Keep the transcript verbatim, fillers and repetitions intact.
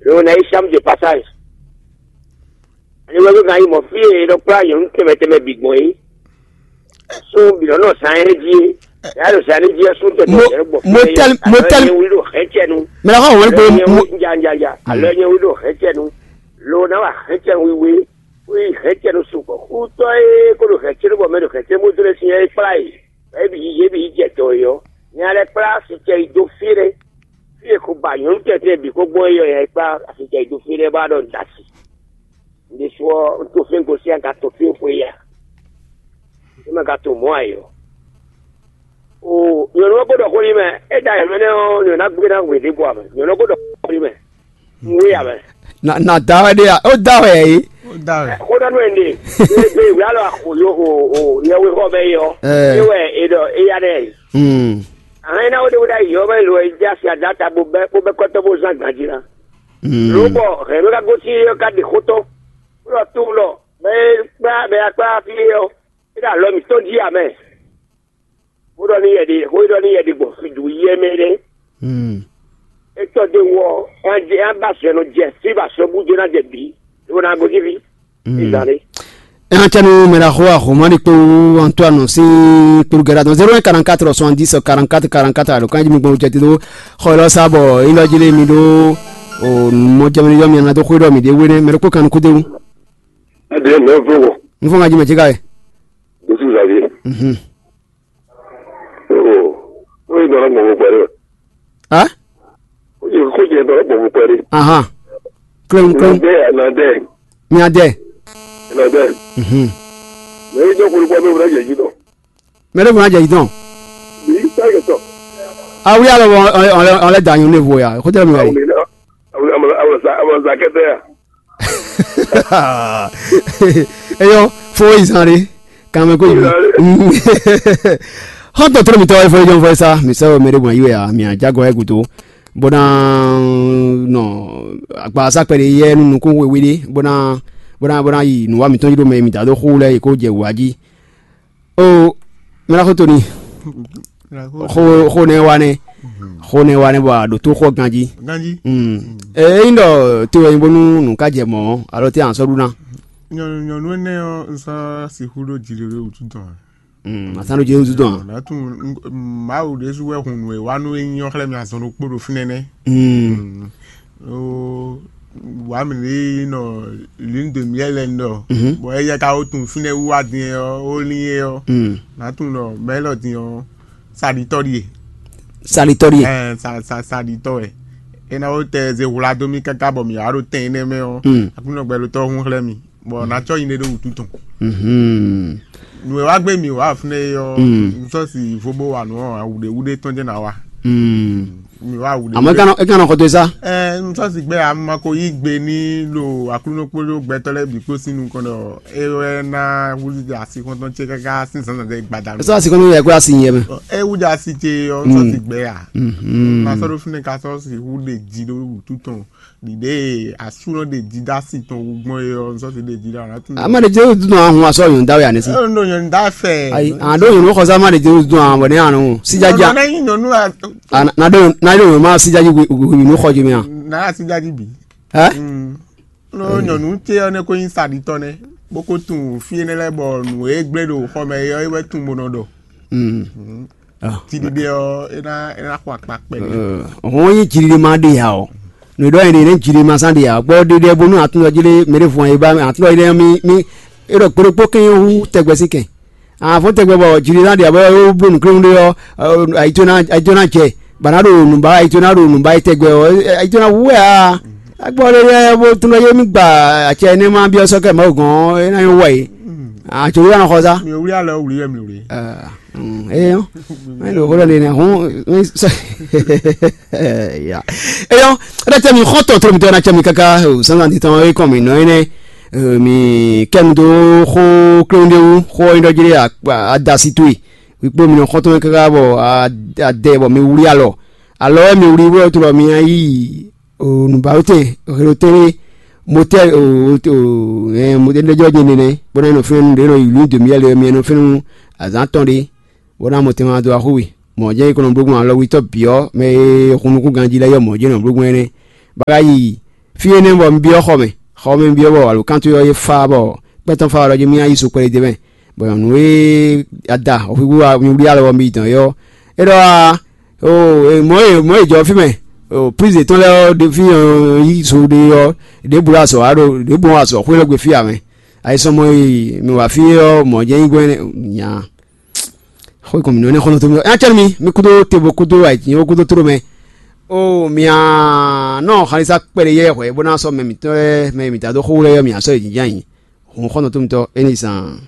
Lo na yi chambre de passage. Ani wɛ bɛ ka yi mɔ fí e nɔ kplá nyɔ̌nu tɛnmɛ tɛnmɛ bǐ gbɔn é. Sún bǐ nɔ nɔ zan é jí é. Yà ɖo zan é jí é sún tɛnmɛ Mo- tɛnmɛ gbɔn mo fí é. Tel- mo Alɔ tel- nyɛ wí ɖo hɛn cɛ nu. Mɛ la xɔ wɛn Alɔ gbo nyɛ wí nya nya nya. Alɔ nyɛ wí ɖo hɛn cɛ nu. Lo na wa hɛn cɛ nu wiwe. Wí hɛn cɛ nu sukpɔ. Xutɔ é kó ɖo hɛn cɛ nu bɔ mɛ ɖo hɛn cɛ nu bó dó lɛ sin é kplá yi. Ebi yi ebi yi jɛ dɔ yi ɔ. Nya lɛ kplá si cɛ yi dó fí ɖé. Fí e ko ba nyɔ̌nu tɛntin bǐ ko gbɔn é yɔ nya yi kplá asi cɛ yi dó fí ɖé bá ɖɔ un da si. Un ɖésú ɔ́, un to fí un gosín aga to fí un xwe ya. É ma ka to mɔ̌ ǎ é ɔ́. O nyɔ̌nu ɔ́ ko ɖɔ xó n'i mɛ, é da yɛ̌mɛ nɛ́ ɔ́, nyɔ̌nu ná gbé ná hwe ɖěbǔ ǎ mɛ. Nyɔ̌nu ɔ́ ko ɖɔ xó n'i mɛ, un wé ǎ mɛ. Na na da wɛ ɖe ya, ó da wɛ yɛ yi. Ó dá wɛ. Xó ɖɔ nú ɛ nɛ, ée gbé wě alɔ axo yo o o yɛwéxɔ mɛ é ɔ́, Ɛɛ. É wɛ è ɖɔ é ya nɛ. Hmm. Ahɛn ná wé ɖé wé ɖ'ayǐ ɔ́ mɛ lo e jɛ asi ada ta bó bɛ́ bó bɛ́ kɔ́tɔ́ bó zán ganjí ná. Hmm. Lǒ bɔ hɛ̌nnu ka gosín é ɔ́ ka ɖe xó tɔn, bó ɖɔ tunwun ɖɔ mɛ e kplá mɛ e kplá fí é ɔ́, é ɖo alɔ mǐtɔn jí ǎ mɛ. Bó ɖɔ n'i yɛ ɖe xó e ɖɔ n'i yɛ ɖe gbɔn fídu yɛ mɛ ɖé. Hmm. É tɔ́ dó wɔ ɔ́, é ná ba sɔ nɔ jɛ fí ba sɔ bú jɛ ná jɛ bǐ, é ná gosín fí. Hmm. Ìzan ɖé. Ɛ hàn cɛnu mɛ ɖaxó Ahomani kpó Antoine sín kplugɛ́ɖá dɔn zéro un quarante-quatre soixante-dix quarante-quatre quarante-quatre alo kan jí mi gbɔn jɛ te ɖó xɔ élɔ́ sá bɔ élɔ́ jí lé mi ɖó o mɔ jɛ mi yɔ mi ana dó xwé ɖɔ mi ɖé wé nɛ mɛ ɖokpó kan nukú déwu. Ɛdí ɛ mɛ fún wɔ. N fɔ ŋa jí mɛ jí ká yɛ. Dosu Xavier. Mhm. Oh, ó yí dɔ̀rọ̀ gbọ̀ngbọ̀n pẹ̀lú. Á? Ó yí kó jẹ dɔ̀rọ̀ gbọ̀ngbọ̀n pẹ̀lú. Ahán. Klem klem. Nọdẹ, nọdẹ, Mi adɛ. Nọdẹ. Mhm. Mɛ yí dɔ̀kun kpɔ́ bẹ́ẹ̀ wúlò yẹ̀yí dɔn. Mɛ ɖé fún ajɛ yìí tán. Yìí sáyẹ̀ tọ̀. Awúyá lọ wọ ọlẹ dà yín lévo ya kó tẹ̀lé mi wá yìí. Àwọn àwọn àwọn àwọn zakẹtẹ ya. Eyɔ fo izan re kàn mɛ kó yìí. Xɔntɔ tó mi tɔ efɔ ejɔ fɔ esa mi sɛ o mɛ ɖé bɔn yi wɛ a mi a jago ɛ gudo. Bó ná nɔ agbasa kpɛɖe yɛ nú nukún wéwé ɖé bó ná bó ná bó ná yi nǔwa mǐtɔn jí ɖó mɛ mi da dó xú lɛ yi kó jɛ wǔ wá jí. O mɛ ná xó toni. Xó xó nɛ wa nɛ. Xó nɛ wa nɛ bɔ a ɖo tó xɔ ganjí. Ganjí. Ɛ ényí ɖɔ te wɛ nyí bónú nǔ ká jɛ mɔ̌ alo te an sɔ́ ɖu ná. Nyɔnu nyɔnu énɛ́ ɔ́, un sɔ́ sixú ɖó jǐ ɖé wútu tɔn. Asán ɖó jǐ wútu tɔn. Nǎ tunwun Mawu ɖésú wɛ hun nǔ e wa nú é nyí ɔ́ xlɛ́ mì azɔn ɖokpó ɖo fínɛ́ nɛ́. Ó wǎ mì ɖě nɔ lune de miel lɛ́ɛ nɔ, bɔ éyɛ́ ka ó tunwun fínɛ́ wíwá din ɔ́, ó lín é ɔ́, nǎ tunwun ɖɔ mɛ̌ élɔ́ din ɔ́, saɖitɔ́ ɖíe. Saɖitɔ́ ɖíe. Ɛɛ sa sa saɖitɔ́ wɛ. É ná ó tɛ ze hwla dó mì káká bɔ mǐ wá ɖo tɛn énɛ́ mɛ ɔ́, Aklúnɔ gbɛɖotɔ́ hún xlɛ́ mì, bɔ ná cɔ́ nyi ɖé ɖó wǔtu tɔn. Nǔ e wá gbé mì wá fúnɛ́ é ɔ́, un sɔ́ si vo bó wa nǔ ɔ́, awǔɖéwúɖé tɔn jɛ́n ná wa. Mi wá awǔɖéwúɖé. Àmọ́ é ká nɔ xɔ dó sá. Ɛ n sɔ́ si gbɛ́ a ma ko yí gbe ní ɖo Aklúnɔ kpódó gbɛtɔ́ lɛ́ɛ bǐ kpó sín nukɔn ɖɔ é wɛ ná wúzú asi xɔ́ntɔn ce káká sín zǎnzǎn ɖé gbadanu. É sɔ́ asi kɔn nú yɛ kó asi nyɛ mɛ. É wúzú asi ce ɔ́ n sɔ́ si gbɛ́ a? Ma sɔ́ ɖó fínɛ́ ka sɔ́ si wú ɖe jí ɖó wútu tɔn. Ɖiɖe asúnɔ ɖe dídá si tɔn wú gbɔn é ɔ́, n sɔ́ si ɖe dídá ɔ́ ná tún. Ama ɖe Jezu dun ahun asɔ yɔn dawe ane si. Ɛ ndo yɔn da fɛ. Ayi, an ɖo yɔn xɔ sama ɖe Jezu dun ahun bɔ ne anu sijaja. Na yi nyɔnu a. Na ɖo na ɖo yɔn ma sijaji yɔn xɔ jimi a. Na sijaji bi. Ɛ? Lo nyɔnu ce ɔ́ ne ko nyi saɖitɔ nɛ, bó ko tun fí énɛ́ lɛ́ɛ bɔ nǔ e gblé ɖo xɔ mɛ é ɔ́, é wɛ tun bó nɔ ɖɔ. Tiɖiɖe ɔ́, é ná é ná xɔ akpa kpɛɖé. Hɔn nyi jiɖiɖe ma ɖe ya o. Nǔ ɖɔ yɛn ɖe nɛ jiɖiɖe ma sán ɖe ya. Gbɔ ɖiɖe bónú atúndɔ jí ɖé mɛ ɖé fún ayé bá atúndɔ jí ɖé mi mi é ɖɔ kpóɖokpó kɛn hu tɛgbɛ sí kɛn. Àfɔ́n tɛgbɛ bɔ jiɖiɖe ná ɖe ya bɔ é bló nǔkléwún ɖé ɔ́, ayito ná ayito ná jɛ. Bana ɖo nǔba ayito ná ɖo nǔba yi tɛgbɛ ɔ́, ayito ná hu wɛ a. Agbɔ ɖe lɛ bó tún ɖɔ yé mi gba acɛ énɛ́ ma byɔ́ sɔ́ kɛ Mawu gɔ́n é ná nyɔ́ wɛ yé. Àtò wíwá nɔ xɔ sá. Mi ò wlí alɔ wlí wɛ mi wlí. Eyɔ mɛ ɖo xó ɖɔ nínú ɛhún. Ya eyɔ ɛɖɛ tɛ mi xɔ tɔ tó mi tɔ na tɛ mi kaka o sansan ti tɔn e kɔn mi nɔ yi nɛ mi kɛ mi do xó kléwún ɖé wú xó yi ɖɔ jí ɖé adasi tó yi wíkpó mi nɔ xɔ tó mi kaka bɔ adɛ bɔ mi wlí alɔ alɔ wɛ mi wlí wɛ tó lɔ mi yi o nǔbawútɛn hɛnɔtɛn ɖé motɛl o o ɛ motɛl ɖé jɔ jɛ nɛnɛ bó ná nɔ fɛn nu ɖé nɔ yi lǔ dǒmí yɛ lɛ mi nɔ fɛn nu azǎn tɔn ɖé bó ná mɔ tɛn ma dó axú we mɔ̌ jẹ́ ikɔnɔ blógbɔn alɔwítɔ́ bǐ ɔ́ mɛ e hun nukún ganjí lɛ́ɛ yɔ mɔ̌ jẹ́ nɔ blógbɔn énɛ́ bɔ a ka yi fí énɛ́ bɔ un byɔ́ xɔ mɛ. Xɔ mɛ un byɔ́ bɔ alǒkan towe ɔ́ é fá bɔ kpɛ́ tɔn fá wɛ ɖɔ jí mì ná yi sukpɛ́ ɖé mɛ, bɔ nyɔ̌nu e ada hɔxwíxwú wá mi wlí alɔ bɔ mi yi dɔn é ɔ́, é ɖɔ wá, o mɔ̌ e mɔ̌ e jɔ fí mɛ, o plízi yětɔn lɛ́ɛ ɔ́ ɖe fí yí zo ɖe ɔ́, ɖěbǔ ɖo azɔ̌ wa ɖo ɖěbǔ wɔn azɔ̌ xwé lɛ́ gbe fí ǎ mɛ. Ayisɔmɔ e mi wa fí ɔ́ mɔ̌ jɛ́n nyí gbɔn nya. Xó kɔn mǐ nɔ nɛ́ xɔ́ntɔn tómi ɔ́, é ná cɛ nú mi, mi kúdó tebo kúdó ayǐjínjɔ́n kúdó tló mɛ. O mǐ nɔ xalisa kpɛɖé yɛ hwɛ bó ná sɔ́ mɛ mǐtɔn lɛ́ɛ mɛ mǐtɔn dó xó lɛ́ɛ mǐ sɔ́ yě jínjɔ́n ayǐ. Hǔn xɔ́ntɔn tómitɔ́ é ní zan.